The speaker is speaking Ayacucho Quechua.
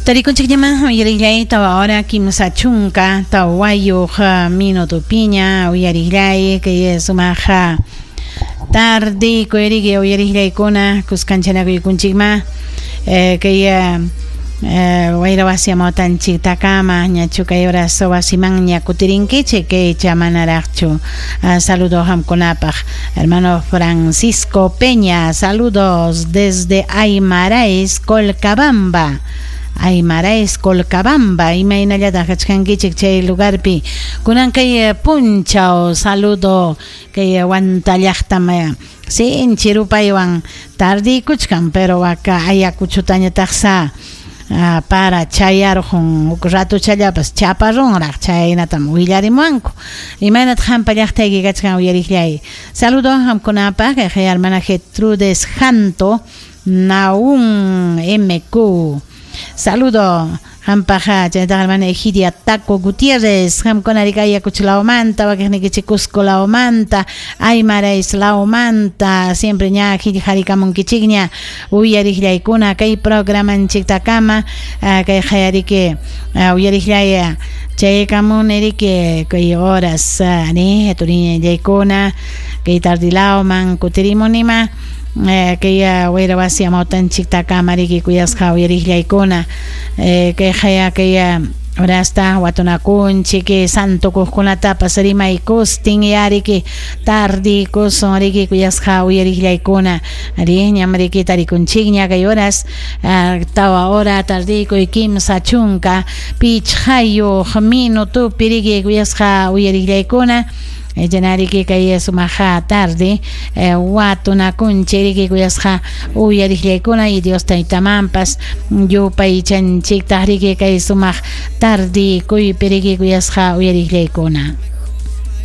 Tarikunchikñamá uyariqllay 4 34 minutopiña uyariqllay kay sumaq tarde kuyariki uyariqllaykuna kuskanchanakuykunchikmá kay wayra wasi amawtanchiktakama ñachu kay horas wasimanña kutirinkichik kaycha manaraqchu. Saludo qamkunapaq hermano Francisco Peña, saludos desde Aymaraes, Colcabamba. Aymaraes, Colcabamba, imaynallataq kachkankichik chay lugarpi. Kunan kay punchaw saludo kay Huanta llaqtam sinchi rupaywan tardiykuchkan, pero waka Ayacuchutañataqsa para chayarqun huk ratuchallapas chaparunraq, chaynatam willarimuwanku. Imaynataq qampa llaqtayki kachkan uyariqllay. Saludo qamkunapaq kay hermana Gertrudes Janto Naún MQ. Saludo qampaq chaynataq hermana Egidia Taco Gutiérrez, qamkuna riki Ayacucho lawmanta, wakiqnikichik Cusco lawmanta, Aymaraes lawmanta, siempre ña harikamunkichikña uyariqllaykuna kay programanchiktakama kay qayariki uyariqllay chaykamuni riki kay horas ni turiñallaykuna kay tardilawman kutirimunima kay wayra wasi amawtanchiktakama riki kuyasqa uyariqllaykuna kay qaya kay horasta watunakunchik santukuqkunatapas rimaykustin yariki tardikusun riki kuyasqa uyariqllaykuna ari ñam riki tarikunchikña kay horas 4 hora tardikuy 35 minutopi riki kuyasqa uyariqllaykuna chanariki kay sumaqa tarde watunakunchik riki kuyasqa uyariqllaykuna y Dios taytamanpas yupaychanchiktaq riki kay sumaq tarde kuypi riki kuyasqa uyariqllaykuna.